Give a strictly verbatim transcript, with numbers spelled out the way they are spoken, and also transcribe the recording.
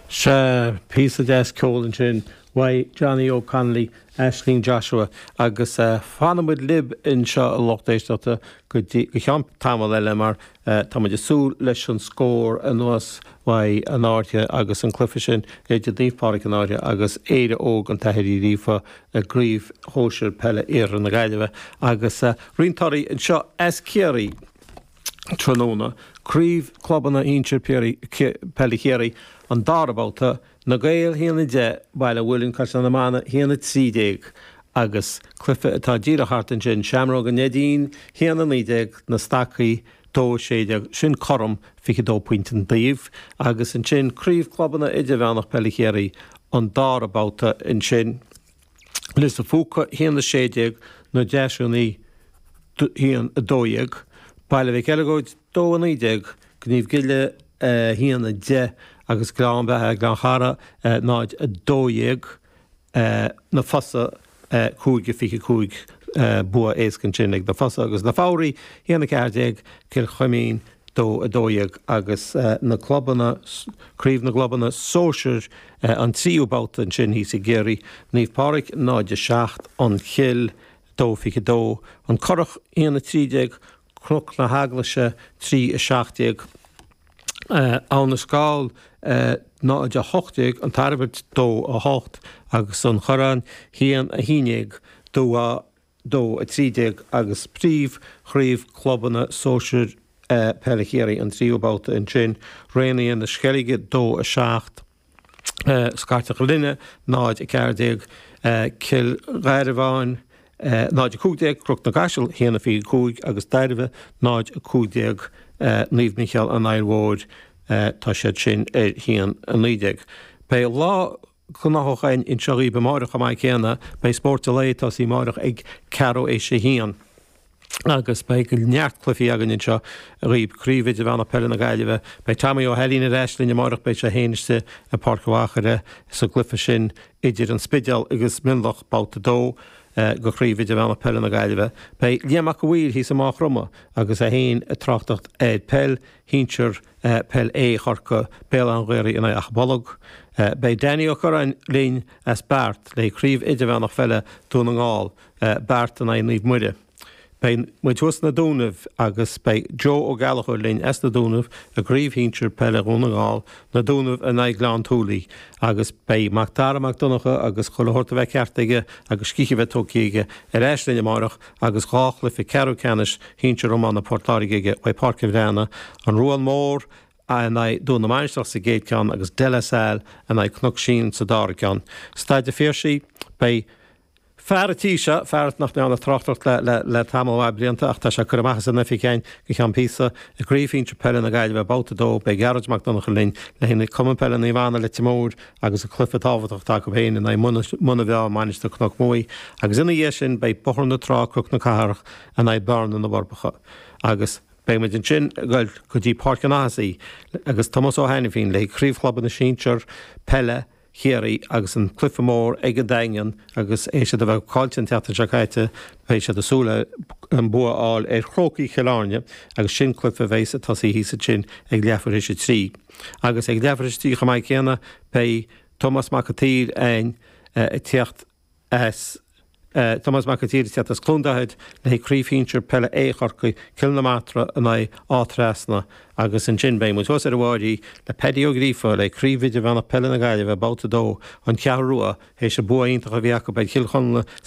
Sea, píosa deas ceoil ansin uaidh Johnny O'Connolly, Aisling Joshua agus fanfaidh muid libh anseo a lucht éisteachta go dtí go ceann tamall eile mar tá muid ag súil leis an scór anuas uaidh an Fhairche agus an cluiche sin idir Naomh Pádraig an Fhairche agus Éire Óg an tAthair Uí Ghríofa i gCraobh Shóisir Peile Iarthar na Gaillimhe agus roinnt torthaí anseo as Ciarraí tráthnóna, Craobh Clubanna Shinsir Peile Chiarraí, an dara babhta, Na Gaeil a haon a deich, Baile an Mhuilinn, Caisleán na Mine, a haon a trí déag agus cluiche atá díreach thart ansin, Seamróg an Neidín, a haon a naoi déag, Na Stacaigh, dó a sé déag, sin cothrom fiche dó pointe an taobh agus ansin Craobh Clubanna Idirmheánach Peile Chiarraí, an dara babhta ansin, Lios an Phúca, a haon a sé déag, Na Deasúnaí, a haon a dó dhéag, Baile Mhic Eileagóid, dó a naoi déag, Gníomh Gile, a haon a deich agus Gleann Bheatha, Gleann Chara, náid a dó dhéag, Na Fosa, cúig a fiche cúig, bua éasca ansin ag Na Fosa agus Na Foghraí, a haon a ceathair déag, Cill Chuimín, dó a dó dhéag agus na clubanna, Craobh na gClubanna Sóisir, an tríú babhta ansin thíos i gCiarraí, Naomh Pádraig, náid a seacht, An Chill, dó fiche dó, An Currach, a haon a trí déag, Cnoc na hEaglaise, trí a seacht déag, Abha na Scáil, náid a hocht déag, An Tairbeart, dó a hocht agus An Corrán, haon a haon déag, Dumha, dó a trí déag agus Príomh-Chraobh Clubanna Sóisir Peile Chiarraí, an tríú babhta ansin, Raonaithe na Sceilge, dó a seacht, Scairteach Ghlinne, náid a ceathair déag, Cill Gharbháin, náid a cúig déag, Cnoc na gCaiseal, a haon a fiche cúig agus Dairbhe, náid a cúig déag, Naomh Mícheál an Aill Mhóir, tá siad sin ar a haon a naoi déag. Beidh lá gnóthach againn anseo dhaoibh amáireach chomh maith céanna, beidh Spórt an Lae ag tosaí amáireach ag ceathrú théis a haon. Agus beidh neart cluichí againn anseo dhaoibh, Craobh Idirmheánach Peile na Gaillimhe, beidh Tommy Ó hAilín ar ais linn amáireach, beidh sé féin istigh i bPáirc an Mhachaire sa gcluiche sin idir an Spidéal agus Mionlach, babhta a dó de Chraobh Idirmheánach Peile na Gaillimhe. Beidh Liam Mac a' Mhaoir thíos i Maigh Chromtha agus é féin ag tráchtacht ar peil shinsir Peil A Chorcaí, Béal Átha an Ghaorthaidh in aghaidh Achadh Bolg. Beidh Danny Ó Curráin linn as Beart le Craobh Idirmheánach Pheile Dún na nGall, Beart in aghaidh Naomh Muire. Beidh muid thuas sna Dúnaibh agus beidh Joe Ó Gallchóir linn as na Dúnaibh i gCraobh Shinsir Peile Dhún na nGall, Na Dúnaibh in aghaidh Ghleann tSúilí agus beidh Mac Dara Mac Donncha agus chuile shórt a bheith ceart aige agus scíth a bheith tógtha aige ar ais linn amárach agus dhá chluiche ceathrú ceannais shinsir iomána Port Láirge aige uaidh Páirc an Bhreathnaigh, An Ruán Mór in aghaidh Dún na Mainistreach sa gcéad ceann agus De La Salle in aghaidh Cnoc Síon sa dara ceann. Staid an Phiarsaigh, beidh. Fear an tí seo, fear nach ndearna tráchtaireacht le le tamall mhaith blianta ach tá sé ag cur amach as an oifig againn go ceann píosa, i gCraobh Shinsir Peile na Gaillimhe, Babhta a dó, beidh Gearóid Mac Donncha linn le haghaidh Cumann Peile Naomh Anna Leitir Móir agus an cluiche tábhachtach atá acu féin in aghaidh Muine Mheá, Mainistir Cnoc Muaidh agus ina dhiaidh sin beidh Bóthar na Trá, Cnoc na Cathrach in aghaidh Bearna na bhForbacha agus beidh muid ansin ag goil go dtí Páirc an Athasí agus Tomás Ó hAiniféin le haghaidh Craobh Chlubanna Sinsear Peile Chiarraí agus an cluiche mór ag an Daingean agus théis iad a bheith caillte an tseachtain seo caite beidh siad ag súil le an bua a fháil ar Chrócaigh Chill Airne agus sin cluiche a bheas ag tosaí thíos ansin ag leathuair théis a trí. Agus ag leathuair théis a trí chomh maith céanna beidh Tomás Mac an tSaoir againn ag tíocht as Tomás Mac an tSaoir ag tíocht as Cluain Dolcáin le haghaidh Craobh Shinsir Peile A Chorcaí, Cill na Martra in aghaidh Áth Trasna agus ansin beidh muid thuas ar an bhFairche le Paddy Ó Gríofa le haghaidh Craobh Idirmheánach Peile na Gaillimhe, Babhta a dó, An Cheathrú Rua, théis an bua iontach a bhí acu ar Chill Chonla sa